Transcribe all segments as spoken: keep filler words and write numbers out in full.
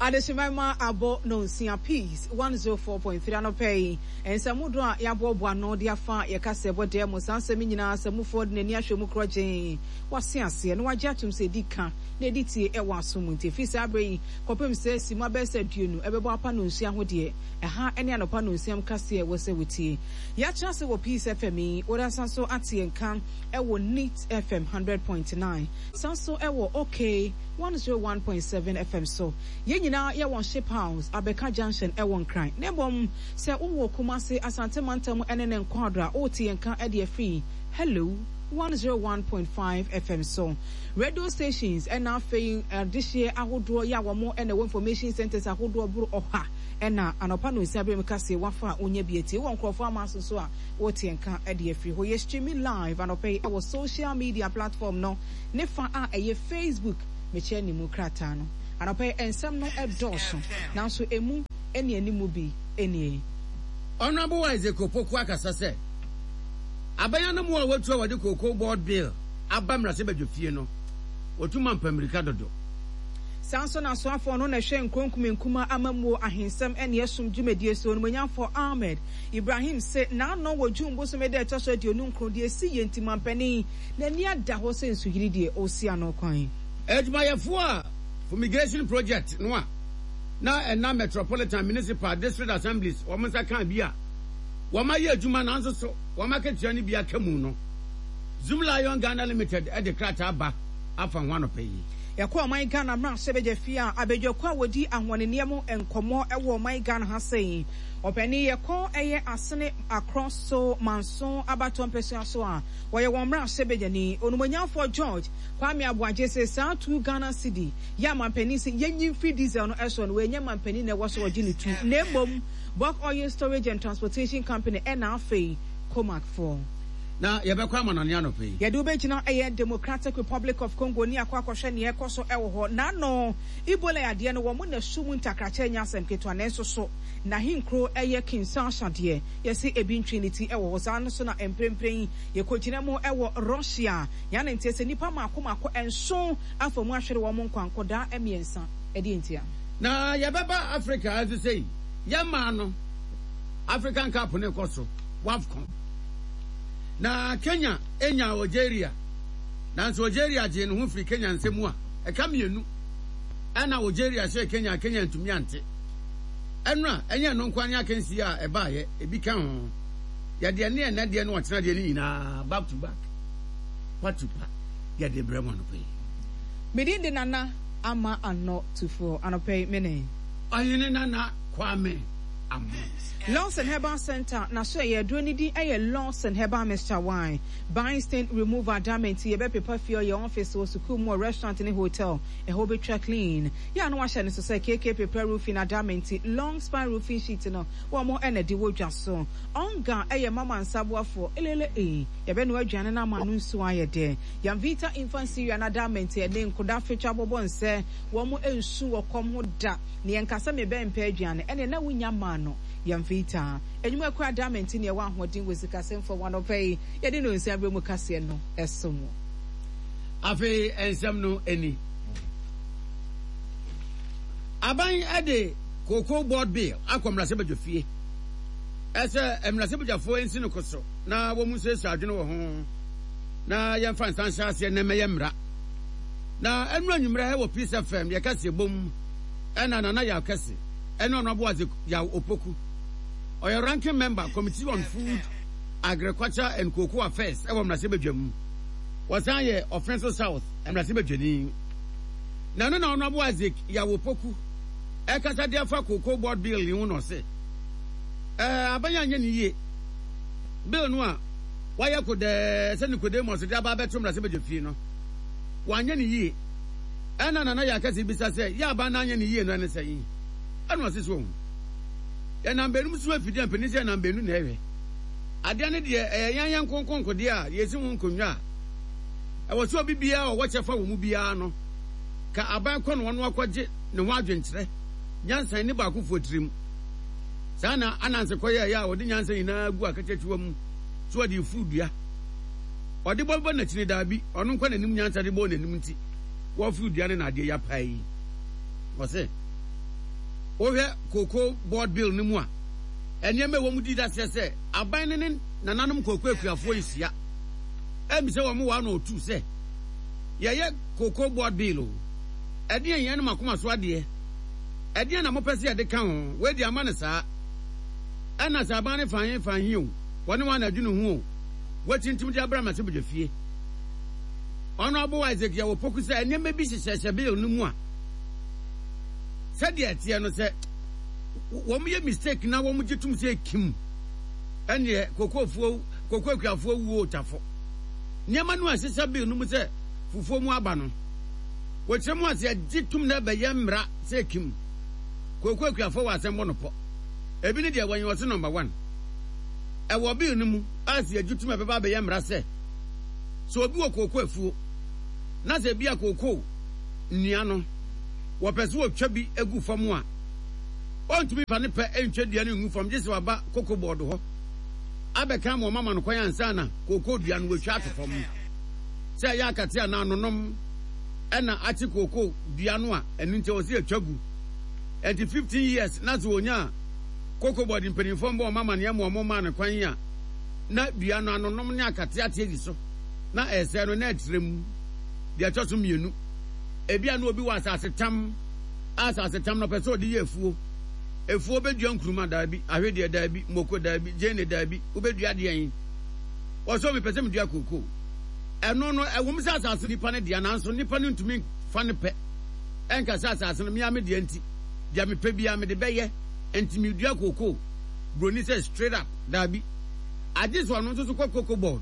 Adehyemma abɔ nonsia, Peace one oh four point three. Anɔpɛ yi, nsɛm dodoɔ a yɛaboaboa ano de afa yɛka sɛ ɛbɔ dɛm mu saa nsɛm nyinaa sɛ mufoɔ de n'ani ahwɛ mu korɔ gyee wase aseɛ na wagye atom sɛ ɛdi ka na ɛdi tie ɛwɔ aso mu. Nti ɛfiri saa berɛ yi kɔpem sɛ si mu abɛyɛ sɛ aduonu ɛbɛbɔ apa nonsia ho deɛ, ɛha ne anɔpa nonsia mu kaseɛ wɔ sɛ wɔtie. Yɛatena ase wɔ Peace F M yi, wɔde asan so ate nka ɛwɔ Neat F M hundred point nine, san so ɛwɔ OK one oh one point seven F M so. Yɛn nyinaa yɛwɔ Ship House, Abɛka Junction, ɛwɔ Nkran. Na mmom sɛ wowɔ Kumase, Asante mantam ɛne ne nkwaado a, wote yɛn ka ɛde afiri Hello one oh one point five F M so. Radio stations ɛna afei adehyeɛ ahodoɔ yɛ a wɔn ɛna ɛwɔ information centers ahodoɔ boro ɔha ɛna anɔpa no nsia bere mu kaseɛ wafa a wonya bi atie wɔ nkurɔfoɔ ama so so a, wote yɛn ka ɛde afiri hɔ. Yɛ streaming live anɔpa yi ɛwɔ social media platform no ne fa a ɛyɛ Facebook. Mekyerɛ ne mu krataa no, anɔpa yi nsɛm no ɛdɔɔso, nanso emu ɛne animu bi ɛnie. Honourable Isaac Opoku akasa sɛ abɛnya no mu a watu a wɔde Cocoa Board Bill aba mmarahyɛbadwa fie no, wɔtu ma mpammirika dodo. Saa nso na asoafoɔ no na ɛhwɛ nkuro nkumankuma amammuo, ahensɛm ne ɛsom dwumadie so, Onimonyamfoɔ Ahmed Ibrahim se n'ano wɔ June bosome da ɛtɔ so aduonu nkron deɛ esi yɛ nti mampanin n'ani ada hɔ sɛ nsuyiri deɛ ɔresi ano kwan. Adwumayɛfoɔ a fumigation project no a na ɛna Metropolitan, Municipal, District Assemblies wɔn nsa kan bi a wɔn ayɛ adwuma nanso so wɔn akatua no bi aka mu no, Zoomlion Ghana Limited de krataa ba afa ho anɔpɛ yi. Yɛkɔ ɔman Ghana mmarahyɛbadwa fie a, abadwako a wɔdi ahoɔneneɛ mu nkɔmmɔ wɔ ɔman Ghana ha sɛn ɔpanin yɛkɔ ɛyɛ Asene Akorɔ so Manso abatoɔ mpɛsua so a wɔyɛ wɔn mmarahyɛbadwani, Onumonyamfoɔ George Kwame Aboagye sɛ saa two Ghana cedi yɛ amampanin sɛ yɛnyi mfiri diesel no ɛso no, wɔnyɛ mampanin na ɛwɔ so wɔgye ne tu, na mmom Bulk Oil Storage and Transportation Company ɛna afei COMAC foɔ. Na yɛbɛkɔ amanɔne anɔpɛ yi. Yɛde wobɛgyina ɛyɛ Democratic Republic of Congo ne akɔ akɔhwɛ neɛ ɛkɔ so ɛwɔ hɔ. N'ano Ebola yadeɛ no, wɔn na su mu ntakrakyɛ nyɛ asɛm ketewa, nanso so n'ahenkuro ɛyɛ Kinshasa deɛ, yɛsi ebi ntwe ne ti ɛwɔ hɔ. Saa no so na mprempren yɛkɔgyina mu ɛwɔ Russia. Yɛn nteɛ sɛ nipa mako mako nson afa mu ahwere wɔn nkwa, nkɔdaa mmiɛnsa. Ɛdeɛ ntia? Na yɛbɛba Africa nso sɛ yi yɛmaa no African Cup ne kɔ so, WAFCON, na Kenya enya Algeria, nanso Algeria gyee ne ho firi Kenya nsam a ɛka mmienu ɛna Algeria hyɛ Kenya. Kenya ntumi ante ɛno a ɛnyɛ no nko ne akansie a ɛbaayɛ ebi ka ho. Yɛde ɛne ɛnɛ deɛ no ɔkyena deɛ no nyinaa back to back, pa to pa, yɛde brɛ mu anɔpɛ yi. Medin de Nana Ama Anɔ Tufoɔ. Anɔpɛ yi mene Ɔhene Nana Kwame Amo. Lawson Herbal Center na so ɛyɛ aduro ne din ɛyɛ Lawson Herbal Mixture Wine Bind Stain Remover Damage. Yɛbɛpepa fie, ɔyɛ office, wɔ sukuu mu, wɔ restaurant ne hotel, ɛhɔ bɛtwa clean. Yɛ a no wahyɛ no so sɛ K K Prepare Roofing adamenti long span roofing sheet no, wɔn ɛna de wɔ dwa so. Ɔnga ɛyɛ mama nsaboafoɔ elele ee yɛbɛnoa aduane no ama no nsuo ayɛ dɛ. Yamvita Infant Cereal na adamenti ɛne nkoda fetwa bɔbɔ nsɛ wɔn nsu wɔ kɔm ho da ne yɛn kasa mebɛn mpɛ aduane ɛne na wonya maa no. Yamvita enyuma kura adamenti ne ɛwɔ ahoɔden wɔ sikasɛmfo wɔn anɔpɛ yi yɛde no nsa abere mu kaseɛ no ɛso mu. Afei nsɛm no ani aban ɛde Cocoa Board Bill akɔ mmarahyɛbadwa fie ɛsɛ mmarahyɛbadwafoɔ nsi no ko so na wɔn mu nsuasua adwene wɔ ho na yɛmfa nsa nhyɛ aseɛ na ɛmɛyɛ mmara. Na ɛnu anwummerɛ wɔ Peace F M yɛka sɛ bom ɛna Nana Yaw Kɛse ɛne Honourable Isaac Yaw Opoku, ɔyɛ ranking member, Committee on Food, Agriculture and Cocoa Affairs ɛwɔ mmarahyɛbadwa mu, wɔsan yɛ Ɔfenso South mmarahyɛbadwani. Na ɛno na Honourable Isaac Yaw Opoku ɛkasa de afa Cocoa Board Bill yi ho na ɔse ɛɛ aban anyɛ ne yie bill no a wayɛ kodɛɛ sɛ Nicodemus de aba abɛto mmarahyɛbadwa fie no, wanyɛ ne yie. Ɛna Nana yɛ akɛse bisa sɛ yɛ aban no anyɛ ne yie no ɛne sɛ yi ɛna ɔse so ohun yɛnam bɛnum so afidie a mpanin sɛ yɛnam bɛnu na ɛhwɛ adeɛ no deɛ, ɛyɛ yɛn yɛn nkonkonkodeɛ a yɛsi ho nkonnwa a ɛwɔ sɛ obi biara a ɔwɔ kyɛfa wɔ mu biara no ka aban kɔ no ɔno akɔgye ne ho adwenkyerɛ nyansa ne baakofoɔ tirim. Saa na Ananse kɔyɛɛyɛ a ɔde nyansa nyinaa gu akakyakyiwa mu so ɔde efuru dua ɔde bɔ bɔ n'akyi ne daabi ɔno nkɔ n'anim nyansa de bɔ n'anim nti wɔfuru dua no na adeɛ yapa yi. Ɔse Wohwɛ Cocoa Board Bill no mu a, nneɛma a ɛwɔ mu di daseɛ sɛ aban no ne nananom kooko akuafoɔ nhyia ɛmmisa wɔn one or two sɛ yɛyɛ Cocoa Board Bill o, ɛdeɛn yɛn ne mo akoma so adeɛ, ɛdeɛn na mopɛ sɛ yɛde ka ho, wei deɛ ama no saa. Ɛna sɛ aban no fa he fa he o, wɔne wɔn na adwene ho o, wɔatintim de abrɛ mmarahyɛbadwafie. Honourable Isaac Yaw Opoku sɛ nneɛma bi hyehyɛhyɛ bill no mu a sɛdeɛ ɛteɛ no sɛ wɔn yɛ mistake na wɔn gye tom sɛ ekim ɛneɛ kokofoɔ koko akuafoɔ wuo otafo. Nneɛma no a ɛhyehyɛ bill no mu sɛ fufuo mu aba no, wɔkyerɛ mu ase ɛgye tom na ɛbɛyɛ mmara sɛ ekim koko akuafoɔ wɔ asɛm bɔ no pɔ. Ebi ne deɛ wɔnyɛ ɔse number one ɛwɔ bill no mu a sɛ yɛgye tom ɛbɛba abɛyɛ mmara sɛ sɛ obi wɔ kooko afuo na sɛ ebi a kooko nnua no wɔpɛ sɛ wɔtwa bi gu fam a, ɔntumi mfa ne pɛ ntwa dua no ngu fam gye sɛ waba koko bɔɔdo hɔ abɛka ama wɔn ama no kwan ansa na kooko dua no wɔatwa ato fam. Sɛ ɛyɛ akate anaa anonom ɛna akye kooko dua no a, ɛno nti ɛwɔ sɛ yɛtwa gu. Ɛnti fifteen years na sɛ wɔnya a koko bɔɔdo mpanimfoɔ mbɔ wɔn amaneɛ ma wɔn maa no kwan a, na dua no anonom ne akate ate adi so na ɛresɛe no na ɛtrɛ mu. Deɛ ɛtɔ so mmienu, ebia na obi wɔ asase tam a asase tam no ɔpɛ sɛ ɔde yɛ afuo. Afuo bɛdua nkuruma daabi, ahwedeɛ daabi, moko daabi, gyeene daabi, wobɛdua deɛn? Ɔsɛ mepɛ sɛ medua kookoo. Ɛno no, ɛwom sɛ asase nipa no dea, nanso nipa no ntumi fa ne pɛ ɛnka sɛ asase no mea me dea nti, deɛ mepɛ biara mede bɛyɛ, nti medua kookoo. Buroni sɛ straight up, daabi. Agye sɛ ɔno nso so kɔ cocoa board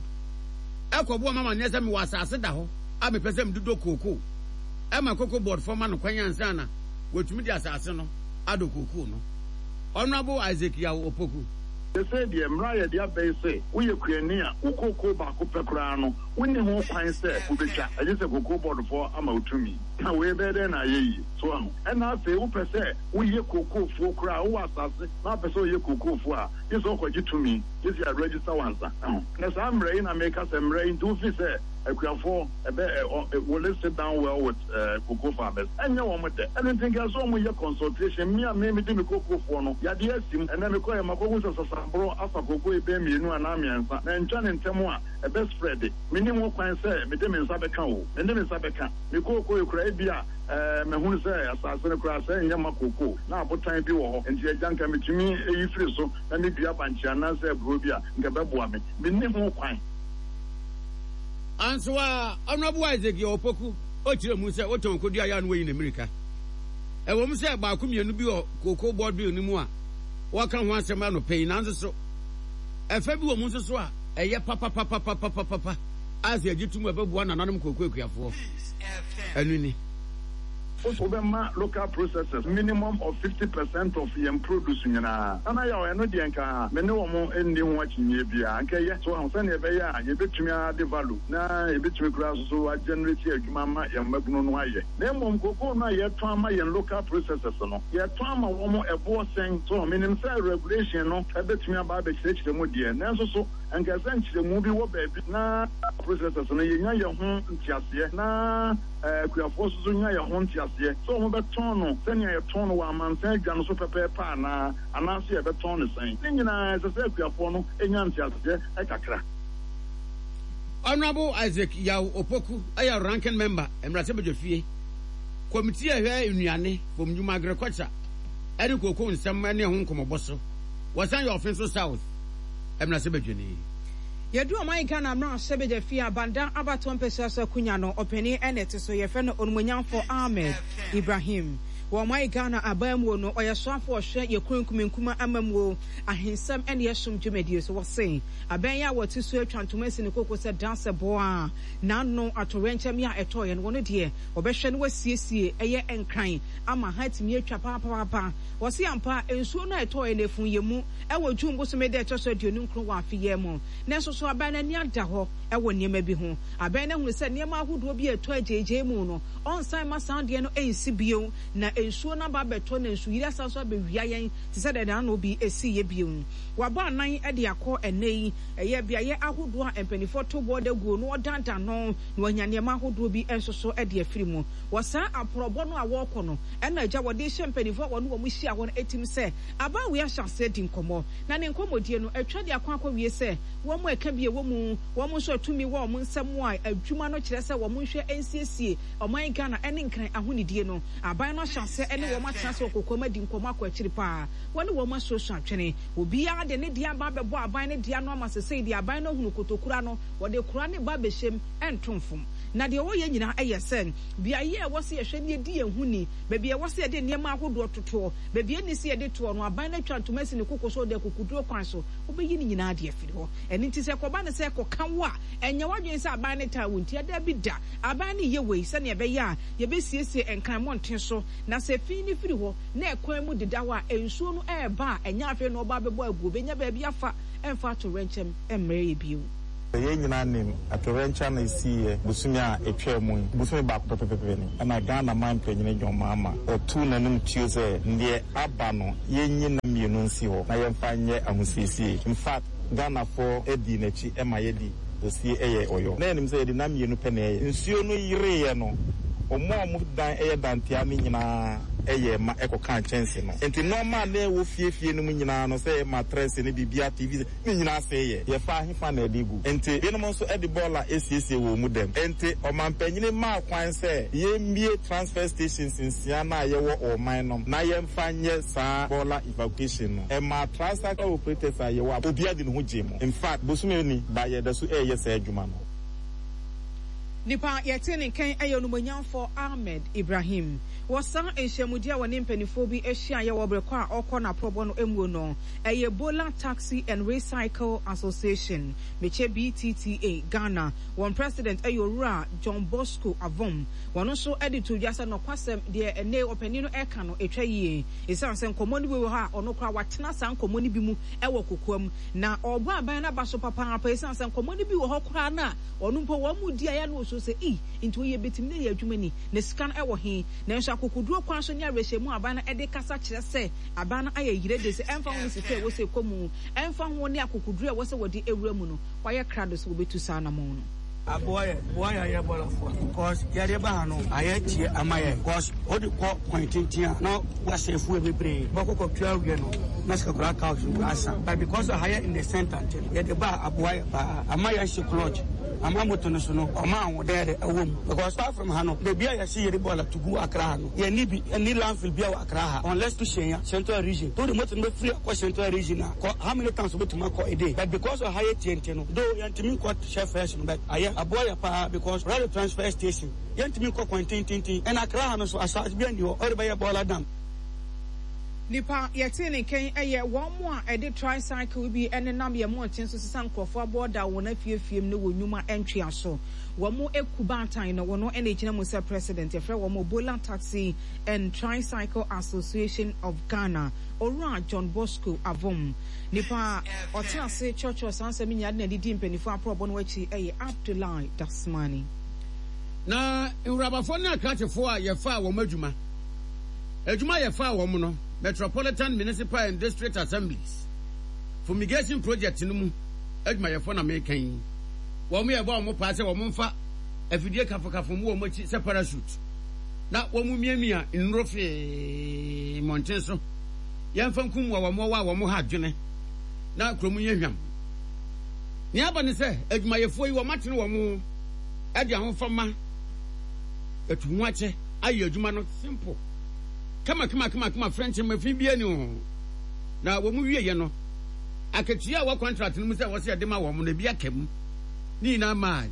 ɛkɔboa ma amaneɛ sɛ mewɔ asase da hɔ a mepɛ sɛ mede dɔ kookoo. Ɛma cocoa board fɔ ma no kwan ansa na wɔatumi de asase no adɔ kookoo no. Honourable Isaac Yaw Opoku. Seesei deɛ, mmara a yɛde aba yi se, woyɛ kuani a, wo kookoo baako pɛ koraa no, wonni ho kwan sɛ wobɛtwa, agye sɛ Cocoa Board foɔ ama wo tumi. Na wei bɛyɛ dɛn na ayɛ yie? So woahu? Ɛnna afei wopɛ sɛ woyɛ kookoofuo koraa a, wowɔ asase na wopɛ sɛ woyɛ kookoofuo a, gye sɛ wokɔgye tumi, gye sɛ yɛaregister wo ansa. Ɛho. Na saa mmara yi na meka sɛ mmara yi nti wofi sɛ akuafoɔ ɛbɛ ɛ ɔ will it sit down well with eh, cocoa farmers? Ɛnyɛ wɔn dɛ. Ɛno nti nka ɛsɛ wɔn yɛ consultation. Me a me medi me kookoofoɔ no, yadeɛ asi mu. Ɛnnɛ mekɔeɛ makɔhu sɛ sasaborɔ afa kookoo yi bɛyɛ mmienu anaa mmiɛnsa. Mantwa no ntɛm a, ɛbɛ spread. Menni ho kwan sɛ mede me nsa bɛka o. Mende me nsa bɛka. Me kookoo yi koraa ebia eh, mahunu sɛ asase no koraa sɛ ɛnyɛ mma kookoo, na abotan bi wɔ hɔ, enti agya nka metumi yi firi so na medua bankye anaasɛ aburoo bi a, nka ɛbɛboa me. Menni ho kwan. Anso a Honourable Isaac Yaw Opoku ɔkyerɛ mu sɛ wotɔn kodua yɛ a na wayi ne mmirika. Ɛwɔ mu sɛ baako mmienu bi wɔ Cocoa Board Bill no mu a wɔka ho asɛm anɔpa yi nanso so ɛfa bi wɔ mu nso so a ɛyɛ papapapapapapa a sɛ yɛgye tom a ɛbɛboa nananom kooko akuafoɔ. Ɛno ni. Wobɛma local processors minimum of fifty percent of yɛn produce nyinaa. Nana Yaw, ɛno deɛ nka me ne wɔn nni ho akyinnyeɛ biara. Nka ɛyɛ. So wahu? Sɛdeɛ ɛbɛyɛ a yɛbɛtumi a-add value na yɛbɛtumi koraa nso so a-generate adwuma ama yɛn mmabunu no ayɛ. Na mmom cocoa no a yɛtɔn ama yɛn local processors no, yɛtɔn ama wɔn ɛboɔ sɛn? So wahu? Menim sɛ regulation no bɛtumi aba abɛkyerɛkyerɛ mu deɛ, nanso so nka ɛsɛ nkyerɛmu bi wɔ baabi na processors no yɛnya yɛn ho nteaseɛ na akuafoɔ nso so nya yɛn ho nteaseɛ sɛ wɔbɛtɔn no sɛnea yɛtɔn no wɔ amansan adwa no so pɛpɛɛpɛ anaa, anaasɛ yɛbɛtɔn no sɛn. Ne nyinaa ɛsɛ sɛ akuafoɔ no nya nteaseɛ kakra. Honourable Isaac Yaw Opoku yɛ Ranking Member, Mmarahyɛbadwafie, Kɔmitii a ɛhwɛ Nnuane, Fam Nnwuma, Agriculture, ne Kooko Nsɛm ne ɛho Nkɔmmɔbɔ so. Wɔsan yɛ Offinso South Mmarahyɛbadwani. Yɛdu ɔman Ghana mmarahyɛbadwa fie a Banda abatoɔ mpɛsua so akonya no ɔpanin na ɛte so, yɛfrɛ no Onumonyamfoɔ Ahmed Ibrahim. Wɔ ɔman Ghana abamuo no, ɔyɛ soafoɔ ɔhwɛ yɛ kuro nkumankuma amammuo, ahensɛm ne ɛsom dwumadie so. Wɔse abɛn yi a wɔte so atwa ntoma asi ne koko sɛ dasɛ boa n'ano atoyerɛnkyɛm yi a ɛtɔeɛ no, wɔno deɛ wɔbɛhwɛ na wɔasiesie ɛyɛ nkran ama ha atumi atwa papaapa. Wɔse ampa nsuo no a ɛtɔeɛ no ɛfuu yɛn mu wɔ June bosome da ɛtɔ so aduonu nkron wɔ afe yi mu. Nanso so aban no ani ada hɔ wɔ nneɛma bi ho? Aban no ahunu sɛ nneɛma ahodoɔ bi a ɛtɔ agyeegyee mu no, ɔnsan mma saa adeɛ no nsi bio, na Nsuo no aba abɛtɔ na nsuyiri asan so abɛwia yɛn te sɛ deɛ n'ano bi si yɛ bio. Wabɔ anan de akɔ ɛnnɛ yi. Ɛyɛ beaeɛ ahodoɔ a mpanimfoɔ to bɔɔda guo na wɔdandan no na wɔanya nneɛma ahodoɔ bi nso so de afiri mu. Wɔ saa aporɔbɔ no a wɔrekɔ no, ɛna agya wɔde rehyɛ mpanimfoɔ a wɔne wɔn hyia hɔ no tirim sɛ abaa wei ahyɛ aseɛ di nkɔmmɔ. Na ne nkɔmmɔdie no, atwa de akɔ akɔwie sɛ wɔn a ɛka bi ɛwɔ mu, wɔn nso a tumi wɔ wɔn nsam a adwuma no kyerɛ sɛ wɔn nhwɛ nsiesie ɔman Ghana ne Nkran ahonidie no. Aban no ahyɛ aseɛ ne wɔn atena ase wɔ kokoam adi nkɔmmɔ akɔ akyiri pa ara. Wɔne wɔn asuasua adwene. Obiara de ne deɛ aba abɛbɔ aban no deɛ ano ama sesei deɛ aban no ahunu kotokura no, wɔde kora ne ba abɛhyɛ mu, ɛnto mfom. Na deɛ wɔyɛ nyinaa yɛ sɛ beaeɛ a ɛwɔ sɛ yɛhwɛ na yɛdi yɛn ho ni, baabi a ɛwɔ sɛ yɛde nneɛma ahodoɔ totoɔ, baabi a ɛnni sɛ yɛde toɔ no, aban no atwa ntoma asi ne koko so de akukuduro kwan so, wobɛyi ne nyinaa de afiri hɔ. Ɛno nti sɛ ɛkɔba no sɛ ɛkɔka wo a, ɛnyɛ w'adwene sɛ aban no taa wo ntia, dabi da. Aban no reyɛ wei sɛnea ɛbɛyɛ a yɛbɛsiesie Nkran mmɔnten so, na sɛ fi no firi hɔ na ɛkwan mu deda hɔ a, nsuo no reba a, ɛnyɛ afei na ɔba abɛbɔ agu, ɔbɛnya baabi afa, ɛmfa atoyerɛnkyɛm mmrɛ yɛn bio. Yɛn nyinaa nim atoyerɛnkyɛm a ɛsiiɛ bosome a ɛtwaa mu yi, bosome baako pɛpɛpɛpɛ ni, ɛna Ghana man panyini John Mahama ɔtuu n'anom tuo sɛ deɛ aba no yɛnyi nna mmienu nsi hɔ na yɛmfa nyɛ ahosiesie. In fact, Ghanafoɔ dii n'akyi ma yɛde osie yɛɛ ɔyɔ. Na yɛnim sɛ yɛde nna mmienu pɛ na ɛyɛ. Nsuo no yereeɛ no, wɔn a wɔn dan yɛ dantea no nyinaa yɛɛ ma ɛkɔkaa nkyɛnse no. Enti nnoɔma a na ɛwɔ fie fie no mu nyinaa no, sɛ ɛyɛ matrɛse ne biribiara, T V, ne nyinaa sɛeɛ. Yɛfa hefa na ɛde gu? Enti binom nso de bɔɔla siesie wɔn mu dɛm. Enti ɔmampanyini maa kwan sɛ yɛmmue transfer stations nsia no a yɛwɔ wɔ ɔman nom na yɛmfa nyɛ saa bɔɔla evacuation no. Ɛmaa tricycle operators a yɛwɔ a obiara de ne ho gyee mu. In fact, bosome ni ba yɛda so reyɛ saa adwuma no. Nipa a yɛtee ne nkan yɛ Onumonyamfoɔ Ahmed Ibrahim. Wɔ saa nhyiamudie a wɔne mpaninfoɔ bi hyiaeɛ wɔ berɛ kɔ a ɔrekɔ n'aporɔbɔ no muo no, ɛyɛ Bola Taxi and Recycle Association, mekyɛ B T T A, Ghana. Wɔn President yɛ Owura John Bosco Avom. Wɔn nso de too dwa sɛ nɔkwasɛm deɛ ɛnnɛ yi ɔpanin no reka no ɛtwa yie. Ɛsiane sɛ nkɔmmɔ no bi wɔ hɔ a ɔno koraa watena saa nkɔmmɔ no bi mu wɔ kokoam na ɔrebɔ aban no aba so papaapa ɛsiane sɛ nkɔmmɔ no bi wɔ hɔ koraa no a ɔno mpo wɔn mu di a ɛyɛ a na ɔsuro sɛ ei nti wei yɛbɛtumi de ayɛ adwuma ni na sika no wɔ he? Nanso akokoduro kwan so ne awerɛhyɛmu a aban no de kasa kyerɛ sɛ aban no ayɛ yerede sɛ ɛmfa ho ne sika a ɛwɔ sɛ ɛkɔ mu, ɛmfa ho ne akokoduro a ɛwɔ sɛ wɔde wura mu no, wɔayɛ krado sɛ wɔbɛtu saa anammɔn no. Aboa yɛ boa yɛ ayɛ bɔlafoɔ cause yɛde ba ha no ayɛ tie ama yɛ cause wode kɔ kwan tenten a na wasɛ fuel bebree bɔkɔ kɔ tua awie no na sika koraa ka so asa, but because ha yɛ in the center nti no yɛde ba aboa yɛ paa ama yɛ hye clutch ama moto no so no ɔma ahoɔden yɛde ɛwɔ mu because far from ha no baabi a yɛhye yɛde bɔɔla to gu Accra ha no yɛni bi ɛni landfill bi a wɔ Accra ha unless to hyɛn Central Region to de moto no bɛfiri akɔ Central Region a kɔ how many times wobɛtumi akɔ a day, but because ɔha yɛ tie nti no though yɛntumi nkɔ hyɛ first no, but ayɛ aboa yɛ paa because radio transfer station yɛntumi nkɔ kwan tententen ɛna Accra ha no so asase bi ani hɔ ɔde bɛyɛ bɔɔla dam. Nipa yɛtee ne nkan yɛ wɔn a ɛde tricycle bi nenam yɛn mmɔnten so sesa nkurɔfoɔ abɔɔda wɔn afiefie mu ne wɔn nnwuma ntweaso. Wɔn aku baatan no, wɔn na ɛgyina mu sɛ president. Yɛfrɛ wɔn Obola Taxi and Tricycle Association of Ghana. Owura John Bosco Avom. Nipa a ɔtena ase kyerɛkyerɛw saa nsɛm yi nyinaa de n'ani di mpanimfoɔ aporɔbɔ no akyi yɛ Abdullahi Dasmani. Na nwurabafoɔ ne akrakyefoɔ a yɛfaa wɔn adwuma, adwuma a yɛfaa wɔn no, Metropolitan, Municipal and District Assemblies Fumigation Project no mu adwumayɛfoɔ na meka yi, wɔn yɛbɔ wɔn paa sɛ wɔn mfa afidie kafokafo mu wɔn akyi sɛ parachute na wɔn miamia nnuro fee mmɔnten so, yɛmfa nkum wɔ wɔn a wɔn ha adwene na kurom nyɛ hwam. Nea aba ne sɛ adwumayɛfoɔ yi wɔn atene wɔn ho de ahofama atu ho akyɛ ayɛ adwuma no simple kama kama kama kama frɛnkyɛm efi bi ani ho na wɔn wieɛ no akatua a wɔ contract no mu sɛ wɔsɛ yɛde ma wɔn no ebi aka mu ne nyinaa maa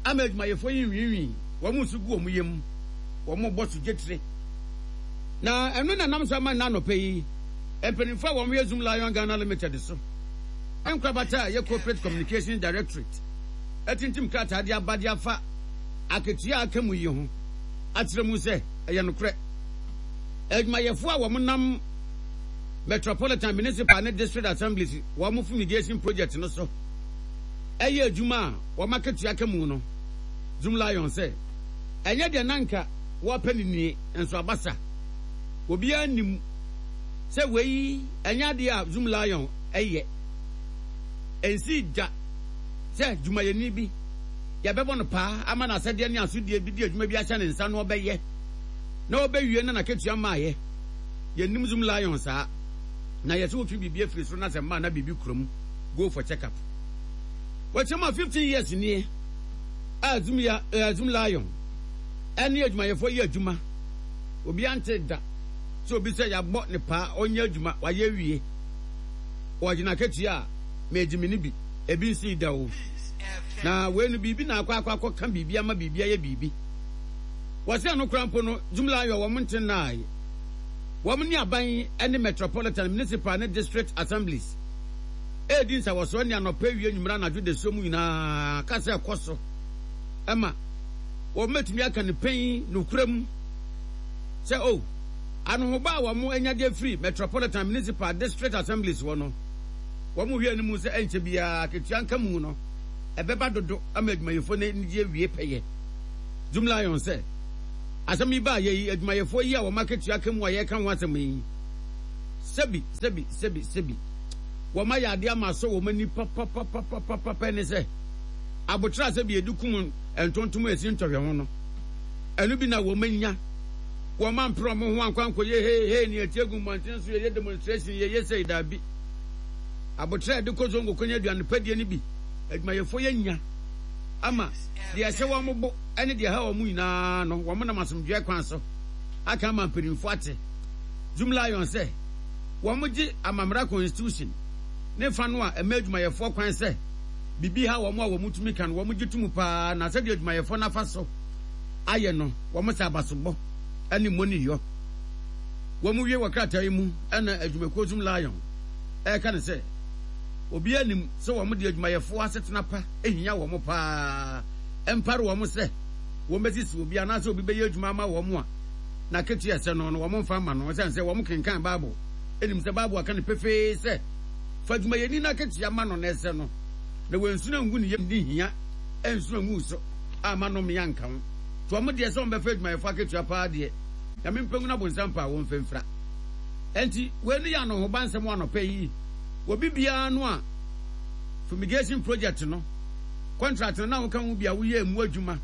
ama adwumayɛfoɔ yi nwiinwii, wɔn nso gu wɔn yam, wɔn bɔ so gyetire, na ɛno na nam so ama nna anɔpɛ yi mpanimfoɔ a wɔn yɛ Zoom Lion Ghana Limited so nkorabata a ɛyɛ Corporate Communications Directorate atintim krataa de aba de afa akatua a aka mu yi ho akyerɛ mu sɛ ɛyɛ nokorɛ adwumayɛfoɔ a wɔn nam Metropolitan, Municipal ne District Assemblies wɔn fumigation project no so ɛyɛ adwuma a wɔn akatua ka mu no. Zoom Lion sɛ ɛnyɛ deɛ nanka wɔpɛ ne nie nso abasa. Obiara nim sɛ wei ɛnyɛ adeɛ a Zoomlion ɛyɛ. Ɛnsii da sɛ dwumayɛni bi yɛbɛbɔ no paa ama no asɛdeɛ ne asodie bi de adwuma bi ahyɛ ne nsa na ɔbɛyɛ na ɔbɛwie na n'akatua maayɛ. Yɛnim Zoomlion saa, na yɛsɛ wotwe biribi afiri soro na sɛ mmaa na biribi kurom, go for check up. Wɔkyerɛ mu a, fifteen years nie a Zoom ya eh, Zoomlion ɛne adwumayɛfoɔ yɛ adwuma. Obi ante da sɛ obi sɛ yɛabɔ ne paa, ɔnyɛ adwuma, wayɛ wie, ɔgyina akatua a mɛgye me ne bi. Ebi nsi da o. Na wei no, biribi na akɔ akɔ akɔka biribi ama biribi ayɛ biribi. Wɔsɛ no kora mpo no, Zoomlion wɔn nte nnae. Wɔn ne aban ne metropolitan, municipal ne district assemblies edi nsawɔsoɔ ne anɔpɛ, awie, nwumera, anadwo, de so mu nyinaa kasa ɛkɔ so ɛma wɔn mɛtumi aka ne pɛn nokura mu sɛ o anohoba a wɔn anya de afiri metropolitan, municipal, district assemblies wɔ no, wɔn hwɛ anim sɛ ɛnkyɛ biara akatua nka mu no ɛbɛba dodo ama adwumayɛfoɔ no anigye awie pɛyɛ. Zoomlion sɛ asɛm yi baa yɛ yi, adwumayɛfoɔ yi a wɔn akatua ka mu a yɛreka ho asɛm yi, sɛbi sɛbi sɛbi sɛbi, wɔn ayɛ adeɛ ama asɔ wɔn ani papapapapapa ne sɛ abotra sɛbi yɛde kum ntontom a esi ntɔhwɛ ho no, ɛno bi na wɔn anya. Wɔn ampere wɔn ho ankɔ ankɔyɛ hee hee ne ɛti egu mmɔnten so yɛyɛ demonstration, yɛyɛ sɛ daabi. Abotra yɛde kɔ zongo kɔnya aduane padie no bi, adwumayɛfoɔ yɛ nya ama deɛ ɛhyɛ wɔn bo ne deɛ ɛha wɔn nyinaa no, wɔn nam asomdwoeɛ kwan so aka ama mpanimfoɔ ate. Zoomlion sɛ wɔn gye amammerɛ, constitution ne fa no a ɛma adwumayɛfoɔ kwan sɛ biribi ha wɔn a wɔn tumi ka no, wɔn gye tum paa, na sɛdeɛ adwumayɛfoɔ n'afa so ayɛ no, wɔn sɛ abasobɔ ne mmɔniyɔ. Wɔn wie wɔ krataa yi mu ɛna adwumakuo Zoomlion ɛreka ne sɛ obiara nim sɛ wɔn de adwumayɛfoɔ asetena pa ehia wɔn paa. Ɛmpare wɔn sɛ wɔn bɛsisi obi anaasɛ obi bɛyɛ adwuma ama wɔn a n'akatua ɛsɛ no no wɔn mfa ama no, ɛsɛn sɛ wɔn kenkan Bible enim sɛ Bible aka no pefee sɛ fa adwumayɛni n'akatua ma no na ɛsɛ no, na wɔnsuna ngu ne yam ne hia ɛnsuna ngu so ama no mmea nka ho. To wɔn deɛ sɛ wɔn bɛfa adwumayɛfoɔ akatua paa deɛ, Nyame mpɛngu na bonsam pa a wɔn mfɛmfira. Ɛnti wei no yɛ anohoba nsɛm wɔ anɔpɛ yi wɔ bibiara no a fumigation project no contract no na woka ho bi a woyɛ emu adwuma,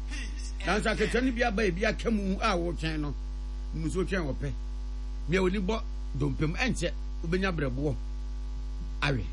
nanso akatua no bi aba, ebi aka mu a wotwɛn no mu nso wotwɛn wɔpɛ nea oni bɔ dompem, ɛnkyɛ wobɛnya brɛboɔ awe.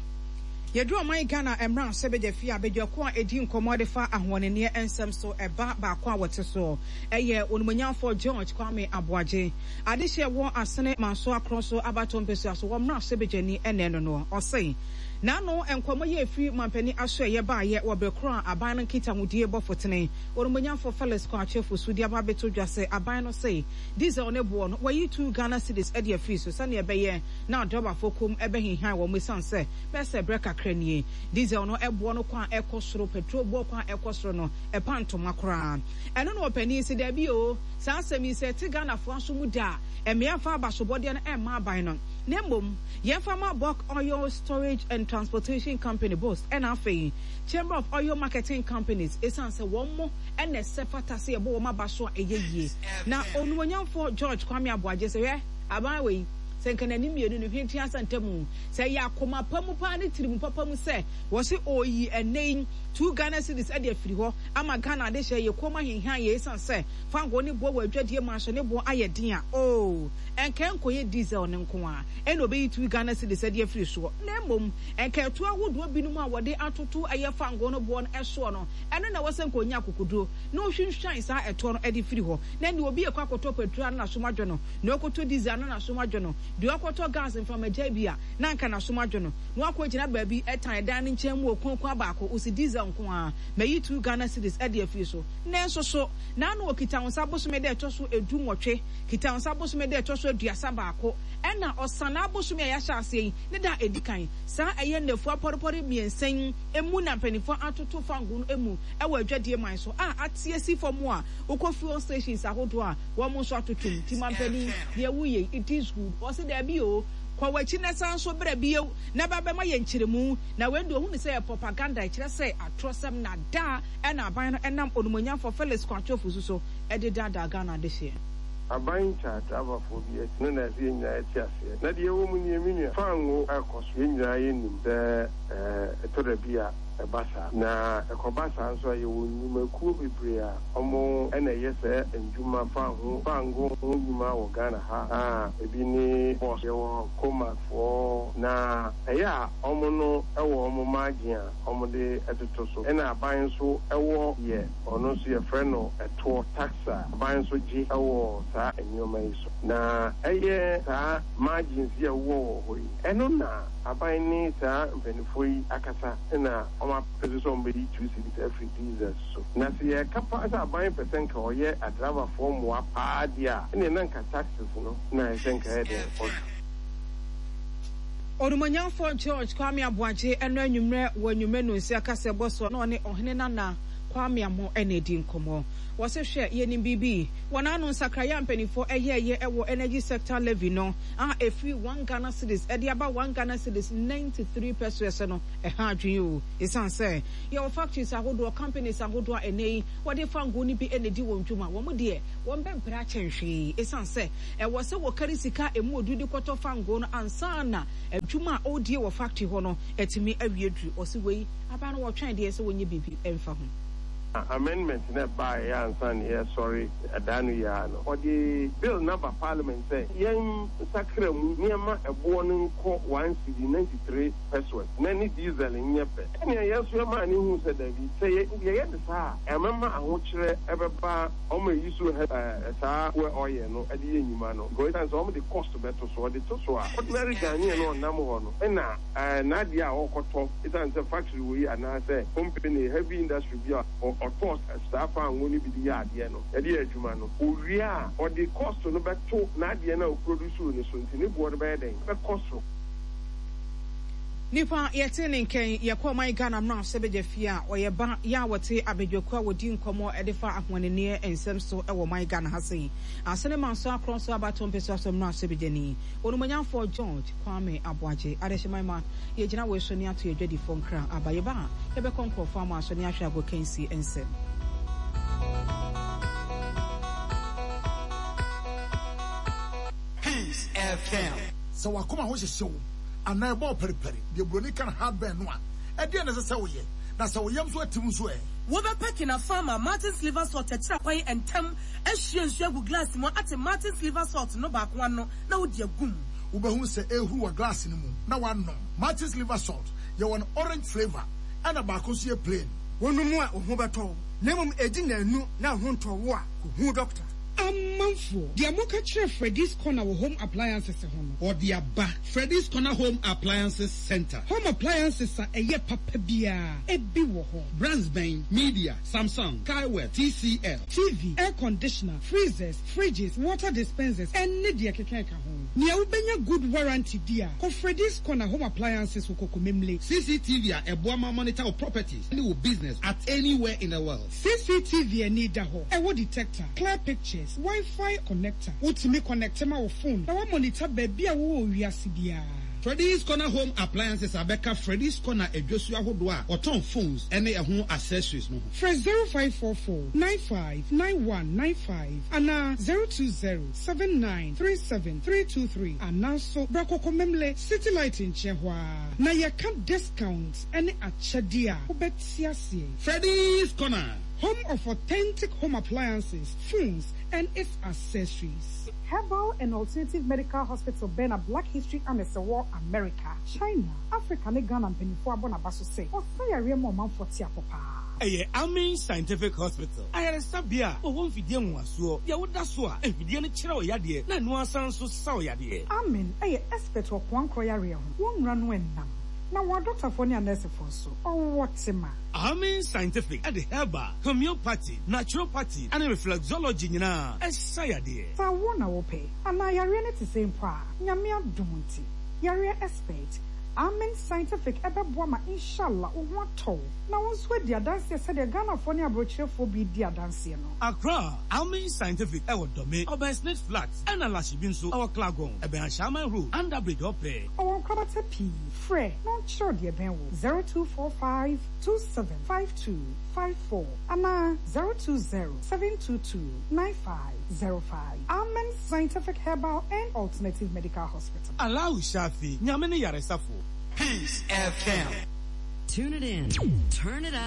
Yɛduru ɔman Ghana mmara sɛ bɛgya fie a badwako a ɛdi nkɔmmɔ de fa ahoɔneneɛ nsɛm so, ɛba baako a wɔte soɔ ɛyɛ Onimonyamfoɔ George Kwame Aboagye, adehyɛ wɔ Asene Manso Akorɔ so abato mpɛsua so wɔ mmara sɛ bɛgyani ɛnɛ no no ɔse n'ano nkɔmmɔ yɛ efiri mampanin aso ɛyɛ baayɛ wɔ bere koro a aban no nkitahodie bɔ fotene Onimonyamfoɔ Felix Kwakye Fosu de aba abɛto dwa sɛ aban no se diesel ne boɔ no wɔyi two Ghana cedis ɛde afiri so sɛnea ɛbɛyɛ na adɔbafoɔ kom ɛbɛhinhan wɔn, esiane sɛ bɛsɛ berɛ kakra nie diesel no ɛboɔ no kwan ɛkɔ soro, petrol boɔ kwan ɛkɔ soro no ɛpa ntoma koraa. Ɛno na ɔpanin si daabi o, saa asɛm yi sɛ ɛte Ghanafoɔ aso mu da a, mmea fa abasobɔdeɛ no ɛmma aban no, na mmom yɛmfa ma Bulk Oil Storage and Transportation Company, BOST, ɛna afei Chamber of Oil Marketing Companies, ɛsiane sɛ wɔn mo ɛna ɛsɛ fata sɛ yɛbɔ wɔn aba so a ɛyɛ yie. Na Onumonyamfoɔ George Kwame Aboagye sɛ hwɛ, aban wei sɛ nka n'anim mmienu no hwɛ tua sɛ ntamu sɛ ɛyɛ akoma pa mu paa ne tirimu papa mu sɛ wɔsi ɔyi ɛnɛ yi two Ghana cedis ɛde afiri hɔ ama Ghana ade hyɛ yɛ kɔn mu ahenhan yɛ, esan sɛ fango ne boɔ wɔ adwadie mu ahyɛ ne boɔ ayɛ den a, oo, ɛnka nkɔyɛ diesel ne nko a ɛna ɔbɛyi two Ghana cedis ɛde afiri soɔ, na mmom ɛnka ɛto ahodoɔ binom a wɔde atoto ɛyɛ fango no boɔ no ɛsoɔ no, ɛno na wɔsɛ nka onya akokoduro na ohwinhwan saa ɛtoɔ no ɛde firi hɔ. Na nea obi ekɔ akɔtɔ petrol ano n'asom adwo no, na ɔkɔtɔ diesel ano n'asom adwo no, deɛ ɔkɔtɔ gas mframagya bi a na nka n'asom adwo no, na wakɔ gyina baabi ɛtan dan no nkyɛn mu okunkun baako osi diesel nko a mayi two Ghana cedis ɛde afiri so. Nanso so n'ano okita nsa bosome dɛ ɛtɔ so edu nwɔtwe, kita nsa bosome dɛ ɛtɔ so aduasa baako, ɛna ɔsan abosome a yɛahyɛ aseɛ yi ne da edi kan saa ɛyɛ nnafua pɔrepɔre mmiɛnsa yi emu na mpanimfoɔ atoto fango no emu ɛwɔ adwadie man so a ate asi fam a wokɔ fuel stations ahodoɔ a wɔn nso atoto mu. Ti mampanin, deɛ woyɛ, it is good. Ɔsi daabi o, kɔ w'akyi na san so brɛ bio na ba bɛma yɛ nkyerɛmu. Na wei de ohun sɛ yɛ propaganda, ɛkyerɛ sɛ atorɔsɛm na daa ɛna aban no ɛnam Onumonyamfoɔ Felix Kwakye Ofosu so ɛde daadaa Ghana adehyeɛ. Aban kya driverfoɔ bi akyi no na ɛsɛ yɛn nyinaa yɛte aseɛ. Na deɛ ɛwɔ mu nie, me nua, fango ɛkɔ so, yɛn nyinaa yɛnim sɛ ɛɛ ɛtɔ da bi a ɛba saa. Na ɛkɔba saa nso a, yɛwɔ nnwumakuo bebree a ɔmo ɛna ɛyɛ sɛ ndwuma fango fango ho nnwuma wɔ Ghana ha a ebi ne Boss, yɛwɔ Comac foɔ, na ɛyɛ a ɔmo no ɛwɔ ɔmo margin a ɔmo de ɛtoto so. Ɛna aban nso ɛwɔ yɛ ɔno nso yɛfrɛ no ɛtoɔ, tax, a aban nso gye ɛwɔ saa nneɛma yi so. Na ɛyɛ saa margins yi a ɛwɔ wɔ hɔ yi, ɛno na aban ne saa mpanimfoɔ yi akasa ɛna ɔmo apɛ so sɛ ɔmo bɛyi two cedis afiri diesel so. Na sɛ yɛka pa sɛ aban pɛ sɛ nka ɔyɛ adrabafoɔ mmoa paa deɛ a, ɛnna na nka taxes no na ɛsɛ nka ɛyɛ den ɔtwa. Onumonyamfoɔ George Kwame Aboagye ɛno anwummerɛ wɔ anwummerɛ no nsi akasa ɛbɔ so na ɔne ɔhene nana Kwame Amo ɛna edi nkɔmmɔ. Wɔsɛ hwɛ, yɛnim biribi wɔn ano nsakraeɛ a mpanimfoɔ ɛyɛɛyɛ ɛwɔ Energy Sector Levy no a ɛfiri one Ghana cedis ɛde aba one Ghana cedis ninety three pesewas no, ɛha adwene o, ɛsiane sɛ yɛwɔ factories ahodoɔ, companies ahodoɔ a ɛnɛ yi wɔde fango no bi ɛna di wɔn dwuma. Wɔn deɛ wɔn bɛbrɛ akyɛn hwee, ɛsiane sɛ ɛwɔ sɛ wɔkari sika emu odu de kɔtɔ fango no ansa na adwuma a ɔredie wɔ factory hɔ no ɛtumi awie duru. Ɔsi wei aba no, wɔtwɛn deɛ sɛ wɔnyɛ biribi ɛmfa ho. Amendment na ɛbaeɛ ansa na yɛsɔre ɛdaa no yia no, ɔde bill naba Parliament sɛ yɛn nsakra mu nneɛma ɛboɔ no nkɔ one cedi ninety three pesewas na ne diesel nyɛ pɛ. Ɛnea yɛn nso yɛmaa ne hu sɛ dabi, sɛ yɛyɛ ne saa a, ɛmɛma ahokyerɛ ɛbɛba ɔmo eyi so ɛɛ saa fuel oil no ɛde yɛ nnwuma no, because ɛsan sɛ ɔmo de cost bɛto so. Ɔde to so a, ordinary Ghanaian no ɔnam hɔ no ɛna ɛɛ n'adeɛ a ɔkɔtɔ, ɛsan sɛ factory wɔ yi anaasɛ company, heavy industry bi a ɔtɔ saa fango no bi de yɛ adeɛ no, ɛde yɛ adwuma no, owie a, ɔde cost no bɛto n'adeɛ no a ɔproduce no so, nti ne boɔ no bɛyɛ dɛn? Bɛkɔ soro. Nipa yɛte ne nkɛn, yɛkɔ ɔman Ghana mmara sɛ bɛgya fie a ɔyɛ ba yɛ a wɔte abadwakuo a wɔdi nkɔmmɔ ɛde fa ahoɔnenneɛ nsɛm so ɛwɔ ɔman Ghana ha sei asene ma nso akorɔ nso abato mpɛ so asɔ mmara sɛ bɛgyani Onumonyamfoɔ George Kwame Aboagye. Adehyeman ma yɛgyina wei so ne ato yɛdwadifoɔ nkra aba. Yɛba a, yɛbɛkɔ nkurɔfoɔ ama so ne ahwɛ agokansi nsɛm. Peace F M. Sɛ wakoma ho hyehye wo anaa ɛbɔ pɛripɛri deɛ buroni ka no heartburn no a, ɛdeɛ na ɛsɛ sɛ woyɛ? Na sɛ wo yam nso atim nso ɛ? Wobɛpɛ Kinafama Martin's Liver Salt akyira kwan ntɛm, ahyia nsuo agu glass mu ate Martin's Liver Salt no baako ano na wode agum. Wobɛhu sɛ ɛhuru wɔ glass no mu na wanom. Martin's Liver Salt, yɛwɔ no orange flavour ɛna baako nso yɛ plain. Wonom a, wo ho bɛtɔ wo, na mmom ɛdi nnanu na wo ho ntɔ wo a, kɔhu dɔkta. Amanfoɔ, deɛ moka kyerɛ Freddy's Corner wɔ home appliances ho no, ɔde aba Freddy's Corner Home Appliances Center. Home appliances a ɛyɛ papa biara ebi wɔ hɔ. Brands bɛn? Midea, Samsung, Kaiweets, T C L. T V, air conditioner, freezers, fridges, water dispensers, ɛne deɛ keka ɛka ho. Nea wobɛnya good warranty di a, kɔ Freddy's Corner Home Appliances wɔ Kokomemle. C C T V a ɛboa ma monitor wo properties ne wo business at anywhere in the world. C C T V ani da hɔ, ɛwɔ detector, clear pictures, Wi-Fi connector. Wotumi connect ma wo phone na monitor baabi a wowɔ wiase biara. Freddy's Corner Home Appliances abɛka Freddy's Corner adwosuo ahodoɔ a wɔtɔn phones ne ɛho accessories no ho. Frɛ zero five four four nine five nine one nine five anaa zero two zero seven nine three seven three two three, anaa so bra Kokomemle City Light nkyɛn hɔ a, na yɛka discount ne akyɛdeɛ a wobɛte aseɛ. Freddy's Corner, home of authentic home appliances, phones, and its accessories. Herbal and Alternative Medical Hospital bɛn na Black History Annex wɔ America, China, Africa ne Ghana mpanimfoɔ abɔ n'aba so sɛ ɔsa yareɛ ma ɔmanfoɔ te apɔ paa. Ɛyɛ Amen Scientific Hospital, ayaresabea a wɔwɔ mfidie nwowasoɔ deɛ woda so a mfidie no kyerɛ wo yadeɛ na ɛno asan nso sa wo yadeɛ. Amen ɛyɛ expert wɔ koankorɔ yareɛ ho. Wɔn nnura no ɛnam na wɔn adɔktafoɔ ne anɛɛsefoɔ nso ɔwɔ tema. Amen Scientific ɛde herbal, homeopathy, naturopathy ɛne reflexology nyinaa ɛsa yadeɛ. Sɛ wo na wopɛ anaa yareɛ no te sɛ mpo a, Nyame adom nti yareɛ expert Amen Scientific ɛbɛboa ma inshallah wo ho atɔ wo na wo nso adi adanseɛ sɛdeɛ Ghanafoɔ ne aborɔkyerɛfoɔ bi di adanseɛ no. Accra, Amen Scientific ɛwɔ Dome, ɔbɛn Snit Flat, ɛna Lashibi nso ɛwɔ Clagon, ɛbɛn Ashaiman Road, Under Bridge hɔ pɛɛ. Ɔwɔ nkorabata pii, frɛ na ɔnkyerɛ wo deɛ ɛbɛn wo, zero two four five two seven five two five four anaa zero two zero seven two two nine five zero five. Amen Scientific Herbal and Alternative Medical Hospital. Allahu Shafi, Nyame ne yaresafo. Peace F M. Tune it in. Turn it up.